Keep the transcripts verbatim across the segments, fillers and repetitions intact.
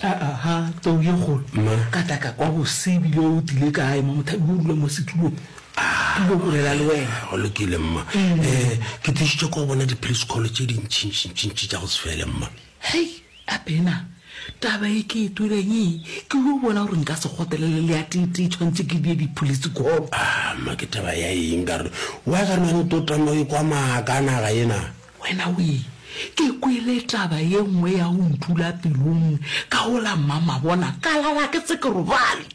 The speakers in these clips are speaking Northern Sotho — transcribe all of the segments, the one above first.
Aha, tau ye kgolo. Ka tla ka kwa bose ebile o tlile kae mo mothabi o dula mo setulong. Ke ile go bolela le wena. Go lokile mma. Um ke tlišitše ko go bona di-police call tše dintšintšintšintši tša go se fele mma. Hei, Abena, taba e ke e tweleng e, ke yo bona gore nka se kgotelele le ya tee-tee tshwanetse ke die di-police call. Ah, mma ke taba ya eng ka re wa ka re o tlo tama o ekwa maaka a naga ena. Wena wee, ke kwele taba ye nngwe ya go ntula pelong ka go la mmamabona, ka lala ke se ke robale.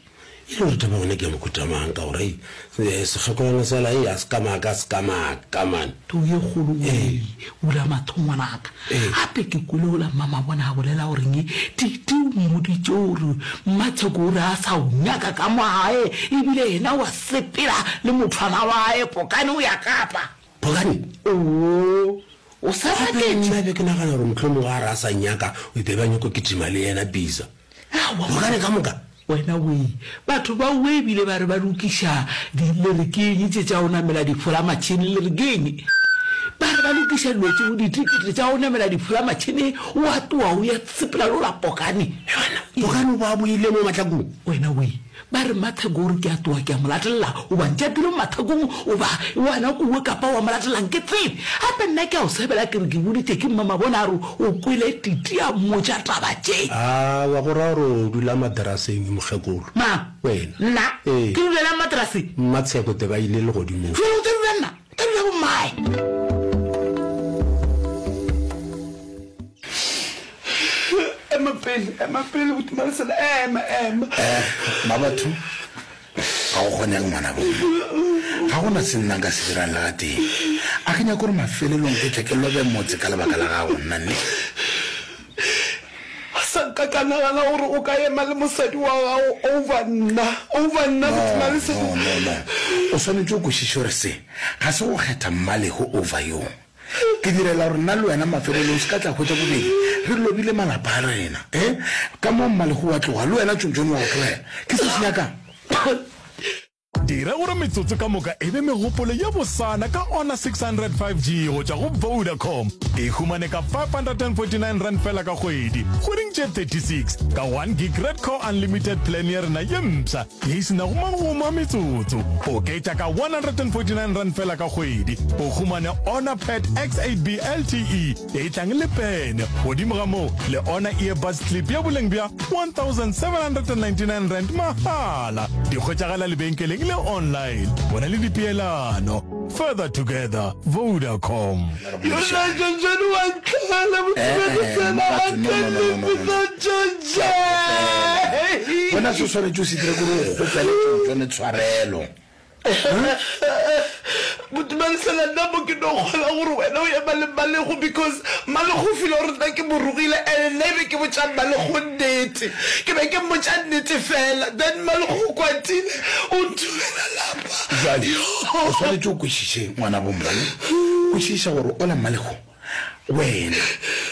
E le gore taba yona ke ya mohuta mang ka gore ei sekgekolwana sela ei a se ka maaka a se ka maaka man. Tau ye kgolo wee, bula mahlo ngwanaka. Gape ke kwele go la mmamabona a bolela gore nge Titi o mmoditše gore Mmatsheko o re a sa o nyaka ka mo gae ebile yena wa sepela le mothwana wa gae Pokane o ya Kapa. Pokane? Oo, o sa Gape maketše? nna be ke nagana gore mohlomongwe a re a sa nyaka o be ba nyako kitima le yena Bisa. Aowa, Pokane ka moka? Wena wee, batho ba owe ebile ba re ba lokiša di, le re ke eng tše tša go namela difolamatšhene, le re ke eng? Ba re ba lokiša dilo tšeo, ditikete tša go namela difolamatšhene, o a tloga o ya sepela le ola Pokane. Wena, Pokane o ba boile mo mahlakong? Wena wee, Ba re, Matheko o re ke a tloga ke a mo latelela, o ba ntšapile mo mathekong, o ba wena kowe kapa wa mo latelang ke tsebe. Gape nna ke a o sebela ke re ke boditše ke mmamabona a re o kwele Titi a mmotša taba tše. Aowa, go ra gore o dula materaseng mokgekolo. Mang? Wena. Nna? Ee. Ke dulelang materaseng? Mmatsheko te ba ile legodimong. Bjale o tla dula nna? O tla dula bommae? Ema pele, ema pele, Buti Malesela, ema, ema. Eh, Mmabatho, ga go kgonege ngwana bo mma. Ga go na se nna nka se dirang le gatee. A ke nyake gore mafelelong ke tle ke lobe motse ka lebaka la gago, nna ne. Ga sa nka ka nagana gore o ka ema le mosadi wa gago over nna, over nna, Buti No, Malesela. no, no, no. O swanetše o kwešiše gore se ga se go kgetha Mmalego over yo. Ke direla gore nna le wena mafelelong se ka tla hwetša bobedi re lobile malapa a rena. E, ka mo Mmalego wa tloga, le wena Tšontšone wa go tlogela. Ke se se nyakang. Dira gore metsotso ka moka e be megopolo ye bosana ka Honor six hundred five G go tšwa go Vodacom. E humane ka five hundred and forty nine rand fela ka kgwedi, kgweding tše thirty six, ka one gig Red Core Unlimited plan ya rena ye mpsha ye e se nago magomo a metsotso. Oketša ka one hundred and forty nine rand fela ka kgwedi, o humane Honor Pad X eight B L T E ye e tlang le pene. Godimo ga moo, le Honor Earbuds Clip ya boleng bja one thousand seven hundred and ninety nine rand mahala. Di hwetšagala lebenkeleng le online. Bona le dipeelano. Further together, Vodacom. Yona Jonjone wa ntlhela Eh, eh, Mmabatho, no, no, no, no, no, no. Wena se o swanetše o se dire ke gore o kgopele Tšontšone tshwarelo. Botumalesela nna mo ke no kgola gore wena o ema le Mmalego because Mmalego o feel gore nna ke mo rogile and nna e be ke botša Mmalego nnete. Ke be ke mmotša nnete fela then Mmalego o kwatile o nthubela lapa. Jwale o swanetše o kwešiše ngwanabo mma ne? Kwešiša gore ola Mmalego Wena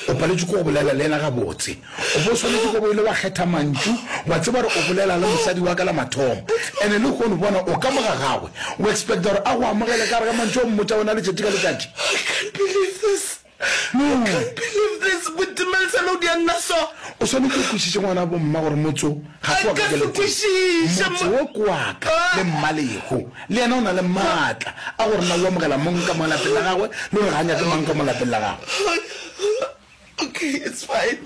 o paletšwe ke go bolela le yena gabotse. O bo swanetše go bo ile wa kgetha mantšu, wa tseba gore o bolela le mosadi wa ka la mathomo. Ene lehono bona o ka mo ga gagwe, o expecta gore a go amogele ka gare ga mantšu a o mmotša ona letšatši ka letšatši? I can't believe this. No. I can't believe this. Botimalesela o dia nna so. O swanetše o kwešiše ngwana bo mma gore motse wo ga se wa ka Nka se ke le tee. kwešiše Motse mo. wo ke wa ka le Mmalego. Le yena o na le maatla a gore na o amogela mong ka mo lapeng la gagwe le gore ga a nyake mang ka mo lapeng la gagwe. Okay, it's fine.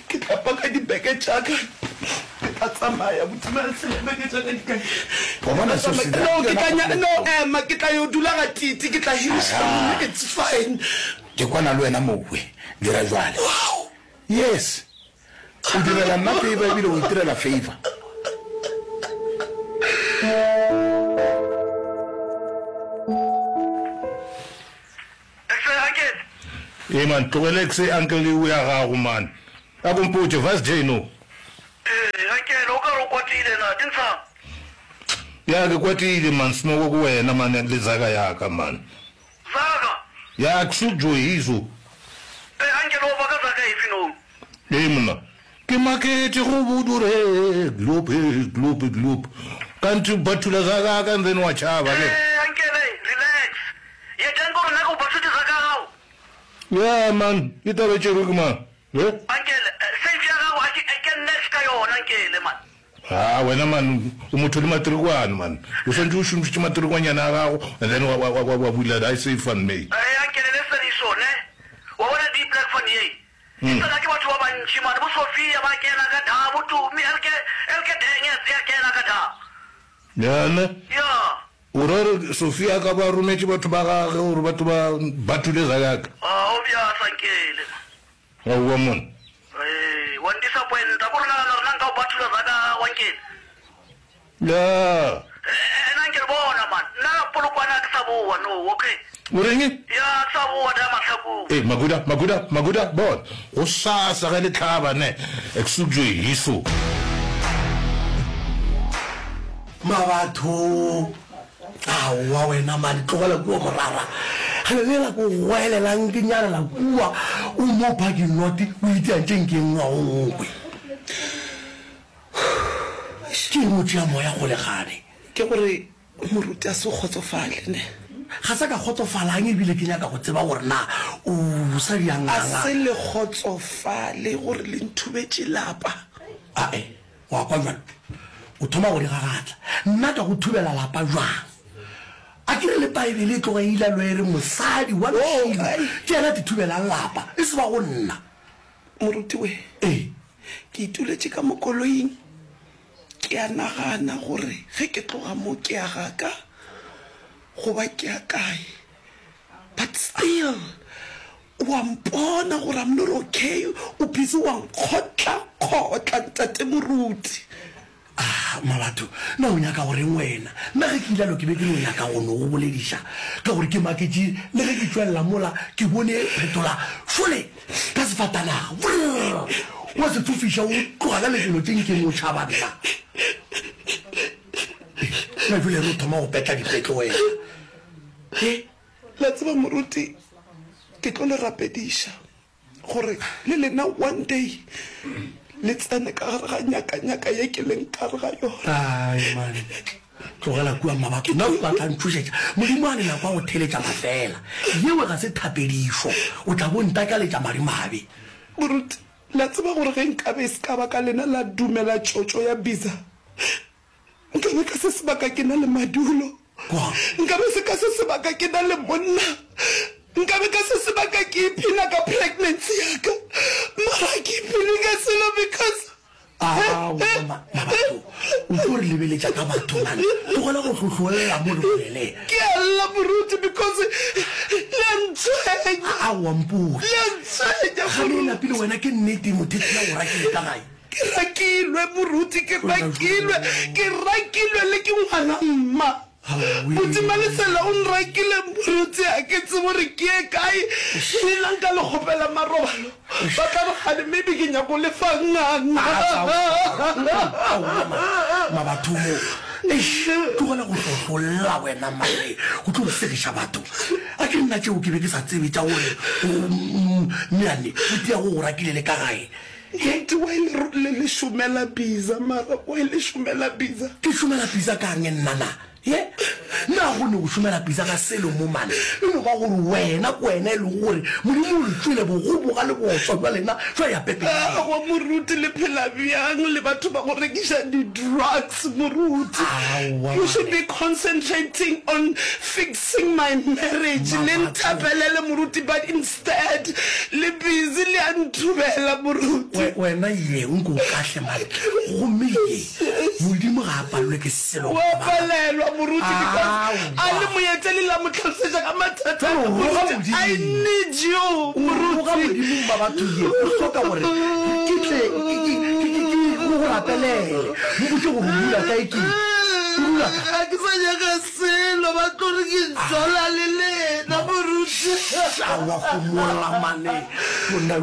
Ke tla paka dibeke tša ka. Ke tla tsamaya. Botimalesela, dibeke tša ka di kae? Wa Ke bona tla seo se tsamaya. dira No, ke ke yona tla nya, no, kgopolo. ema, ke tla yo dula ga Titi. Ke tla hiriša room. Aga. It's fine. Ke kwana le wena mowe. Dira jwale. Wow. Yes. O direla nna favor ebile o itirela favor. Ee man, tlogela exe uncle eo ya gago man. A ko mpotše, Vice J no. Ee, uncle, o ka re o kwatile na, ke ntshang? Ya, ke kwatile man, Smoko ke wena man le zaka ya ka man. Zaka? Ya, ke so joyiso. Ee, uncle, o baka zaka efe no? Ee monna, ke maketše go bodure gloop gloop gloop kanthe bathula zaka ka and then wa tšhaba ke. Ee, uncle, relax. Yetang gore nna ke go bathutše zaka ya gago. Yeah man, e taba e tšerwe ke mang? He? Uncle, safe ya gago a ke, ke nna cash ka yona nkele man. Ha wena man o motho le matrikwane man o swantše o šomišitše matrikwanyana a gago and then wa wa wa wa bula I say van may. Ee ankele le sediso ne wa bona di black van ye e tsena ke batho ba bantši man bo Sophia ba kena ka da bo Tumi elke elke denge ya kena ka da. Ya ne? Ya. O ra gore Sophia a ka ba a rometše batho ba gage gore ba tlo ba bathule zakaka? Ah obvious ankele man. Aowa monna. Ee, wa ndisappointa. Ko re nagana rena nka o bathula zaka wankele. Ya. Ena nke re bona man. Nna Polokwane a ke sa boa no, okay. O reng? Ya, a ke sa boa da Mahlakung. Ee, Makuda, Makuda, Makuda, bona. Gosasa ge le hlaba ne, ek soek jo hiso. Mabatho, Aowa wena mane, tlogela kua morara. Gale lela ko goelelang ke nyalela kua, o mo parking lot o itia tše nke ngwa o nkwe. Ke eng o tšea moya kgole gane? Ke gore moruti a se kgotsofale ne? Ga sa ka kgotsofalang ebile ke nyaka go tseba gore na o sa diang A se le kgotsofale gore le nthubetše lapa? Ae, wa kwa bjalo? O thoma go di gagatla. Nna ka go thubela lapa bjang? A ke re le Paebele e tloga e ilalo e re mosadi wa lešilo ke yena a te thubelang lapa, e se ba go nna. Moruti we, Ee. ke ituletše ka mo koloing, ke a nagana gore ge ke tloga mo ke ya ga ka goba ke ya kae, but still o a mpona gore I'm not okay, o busy wa nkgotla-kgotla ntate moruti. Ah, Mabatho, na o nyaka go reng wena? Nna ge ke ilalo ke be ke no nyaka go no go bolediša, ka gore ke maketše le ge ke tšwelela mola ke bone phetola šole ka sefatanaga, brrr, wa se fofiša o tloga ka lebelo tše nkeng o tšhaba nna. Na bjale re o thoma go petla dipetlo wena? He, la tseba moruti, ke tlo le rapediša. Gore le lena one day le tsene ka gare ga nyakanyaka ye ke leng ka gare ga yona. Ai man, tlogela kua mmabatho, nna o tla ntšhošetša. Modimo a ne nako ya go theletša mafela. Yeo ga se thapedišo, o tla bo ntakaletša madimabe. Moruti, le a tseba gore ge nkabe e se ka ba ka lena la dumela tšotšo ya Biza, Nkabe ka se sebaka ke na le madulo. Nkabe se ka se sebaka ke na le monna. Nkabe ka se sebaka ke iphina ka pregnancy ya ka. Mara ga ke iphine ka selo because. Aowa Mabatho, o tlo re lebeletša ka batho man. Tlogela go hlohlolla mo re bolele. Ke a lla moruti because le a ntshwenya. Aowa mpotše. Le a ntshwenya Gane e moruti. napile wena ke nnete mothethi ya go rakile ka gae. Ke rakilwe, moruti, ke rakilwe, ke rakilwe le ke ngwana mma. Buti Malesela o nrakile, moruti, ga ke tsebe gore ke ye kae. Le nna nka le kgopela marobalo, ba tla re kgane maybe ke nyako le fa nganga. Aowa Mabathomo, eish, tlogela go hlohlolla wena mane, o tlo re segiša batho. A ke nna tšeo ke be ke sa tsebe tša gore meane buti ya go go rakile le ka gae. Moruti, why le, le, le šomela Biza mara? Why le šomela Biza? Ke šomela Biza ka'ng nna na? Ye? Na go ne go šomela Biza ga selo mo mane? E no ba gore wena ke wena e lego gore Modimo o le tšwele bogoboga le bootswa bja lena jwa ya pepeneneng. Aowa moruti, le phela bjang le batho ba go rekiša di-drugs moruti? Aowa You should mane. be concentrating on fixing my marriage. Le Mabatho. nthapelele moruti but Dad, le busy le a nthubela moruti. We, wena ye o nke o kahle mane. Gomme ye, Modimo ga a palelwe ke selo. Wa palelwa moruti because a le Aowa. moetele la mo tlhalosetša ka mathata a ka Roga moruti. Modimo. I need you O roga moruti. Modimo mma batho ye o hloka gore ke tle ke ke ke ke ke go go rapelele. Mpotše gore o dula kae ke o dula kae. Ga ke sa nyaka selo ba tlo re ke jola le lena moruti. Aowa homola mane monna.